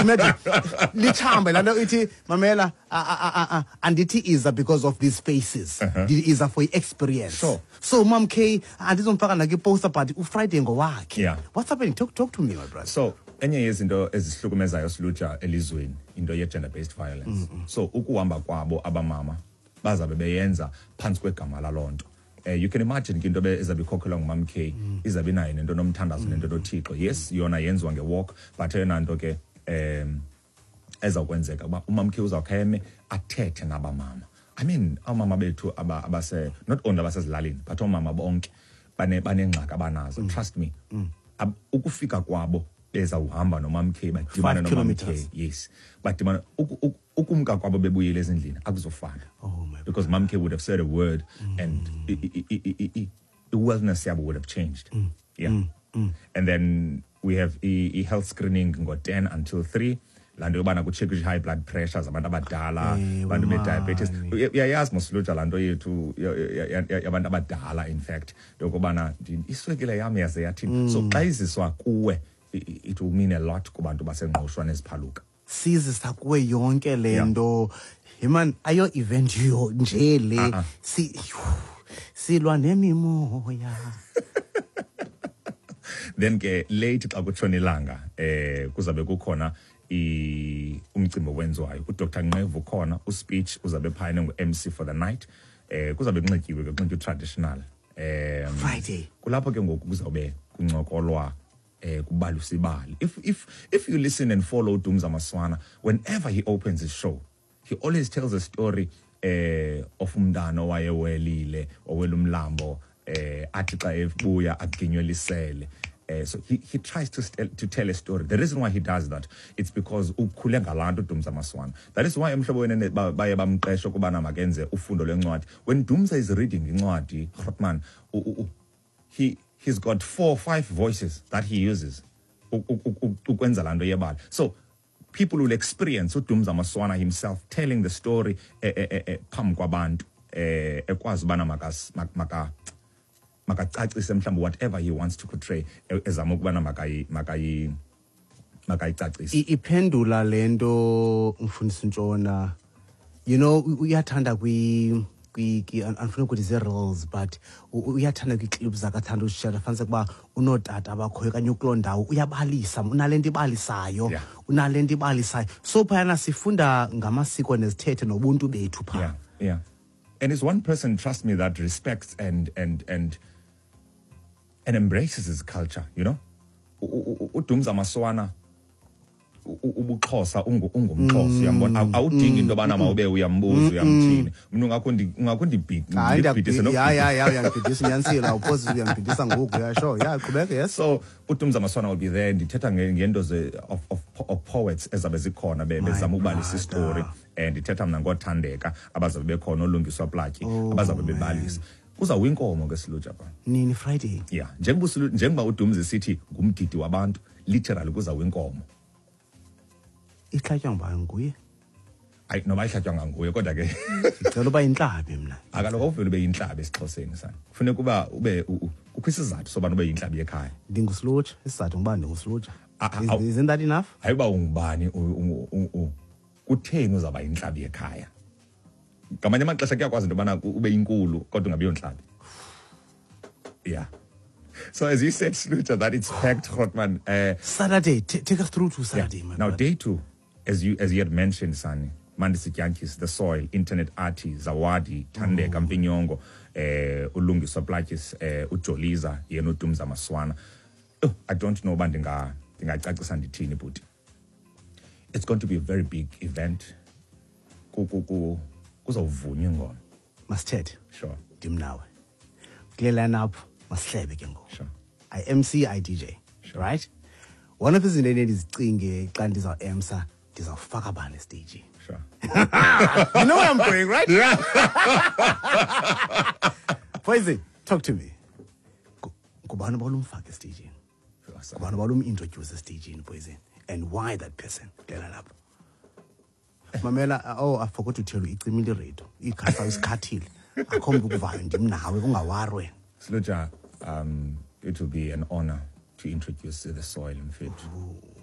Imagine lithambe laa nto ithi, mamela, andithi iza because of these faces. Ndithi iza for i-experience. So Mam K andizomfaka nakwiposter, but uFriday ngowakhe. What's happening? Talk to me, my brother. So enye yezinto ezihlukumezayo, silutsha, elizweni, into ye-gender based violence. So ukuhamba kwabo abamama, bazabe beyenza phantsi kwegama laloo nto. You can imagine ke into ezabe ikhokhelwa nguMam K, izabe inayo nento nomthandazo, nento noThixo. Yes, yona yenziwa ngewalk, but eyona nto ke ezawukwenzeka uba uMam K uzawukhe eme athethe nabamama. I mean, oomama bethu abase, not only abasezilalini, but oomama bonke banengxaki abanazo. Trust me, ukufika kwabo bezawuhamba noMam K, badibane 5 noMam K. kilometers. Yes, badibane. Ukumka kwabo bebuyele ezindlini akuzofana. Oh my. Because Mam K would have said a word and i-wellness yabo would have changed. Yeah. And then we have i-health screening ngo-10 until 3, laa nto yobana kutshekishe high blood pressure zabantu abadala, abantu be-diabetes. Mani. Uyayazi mosilutsha laa nto yethu yabantu abadala, in fact, yokubana iswekile yam yaze yathini. So xa iziswa kuwe, it will mean a lot kubantu baseNgqushwa neziphaluka. Sizisa kuwe yonke le nto, man, ayo event yo nje le. Uh-uh. Silwa nemimoya. Then ke late xa kutshona ilanga, kuzabe kukhona umcimbi owenziwayo. UDr Nqevu ukhona, uspeech uzabe phayana ngu-MC for the night. Kuzabe kunxityiwe ke, kunxitywe traditional. Friday. Kulapho ke ngoku kuzawube kuncokolwa, kubalisa ibali. If you listen and follow Dumza Maswana, whenever he opens his show, he always tells a story of umntana owayewelile, owela umlambo, athi xa ebuya aginywe lisele. So he tries to tell a story. The reason why he does that, it's because ukhule ngalaa nto uDumza Maswana. That is why Emhlobo Wenene baye bamqesha ukubana makenze ufundo lwencwadi. When Dumza is reading incwadi, Grootman, he's got 4 or 5 voices that he uses ukwenza laa nto yebali. So people will experience uDumza Maswana himself telling the story phambi kwabantu, ekwazi ubana makacacise mhlawumbi whatever he wants to portray, ezama ukubana makayicacise. Iphendula le nto, mfundisi Ntshona, uyathanda andifuna ukuthi zii-reels, but uyathanda kwii-clips zakhe, athanda uzishare, fanise ukuba unootata abakhoyo okanye ukuloo ndawo, uyabalisa, unale nto ibalisayo. Unale nto ibalisayo. So phayana sifunda ngamasiko nezithethe nobuntu bethu phaa. Yeah. And it's one person, trust me, that respects and embraces his culture, you know? UDumza Maswana, ubuXhosa, ungumXhosa, uyambona? Awudingi into yobana mawube uyambuza, uyamthini. Mna ungakho Hayi, ndibhidise nokubhidisa. Ya, uyangibhidisa, unyanisile, awuphosi, uyangibhidisa ngoku, ya, sure, ya, qhubeka, yes. So uDumza Maswana will be there. Ndithetha ngento of poets ezabe zikhona, My bezama ukubalisa brother. istory. Ndithetha mna ngoThandeka, abazabe bekhona, oLungiswa Platyi, Oh, abazabe man. bebalisa. Kuzawuwa inkomo ke, silutsha, pha. Nini? Friday? Yeah, njengoba uDumza esithi ngumgidi wabantu, literally kuzawuwa inkomo. Ihlatywa ngubani? Nguye? Hayi, noba ihlatywa nganguye, kodwa ke Ndicela uba yintlabi mna. Akaloku awuvele ube yintlabi esiXhoseni, sana. Kufuneka uba ube kukho isizathu sobana ube yintlabi yekhaya. Ndingusilutsha, isizathu nguba ndingusilutsha. Isn't that enough? Hayi, uba ungubani, kutheni uzawuba yintlabi yekhaya? Ngamanye amaxesha kuyakwazi into yobana ube inkulu kodwa ungabi yontlabi. Yeah. So as you said, Sluter, that it's packed, Grootman. Saturday, take us through to Saturday, my Now, brother. day 2, as you had mentioned, Sani, Mandisi Dyantyis, The Soil, Internet Artie, Zawadi, Thandeka, Mpinyongo, Ulungiswa Plaatjies, uJoliza, yena uDumza Maswana. Oh, I don't know uba ndingacacisa ndithini, bhuti. It's going to be a very big event. Kuzawuvunywa ingoma. Masithethe. Sure. Ndim nawe. Kule line-up, masihlebe ke ngoku. Sure. I MC, I DJ. Sure. Right? One of izinto endizicinge xa ndizawu-emsa, ndizawufaka bani esteyijini. Sure. You know where I'm going, right? Yeah. Poison, talk to me. Ngubani obalumfaka esteyijini? Ngubani obalum-introduce esteyijini, Poison? And why that person? Kule line-up. Mamela, oh, I forgot to tell you, icimile iradio. Ikhasa isikhathile. Akho mntu ukuvayo, ndim nawe, ungawari wena. Sluja, it will be an honor to introduce The Soil, mfethu. Ooh.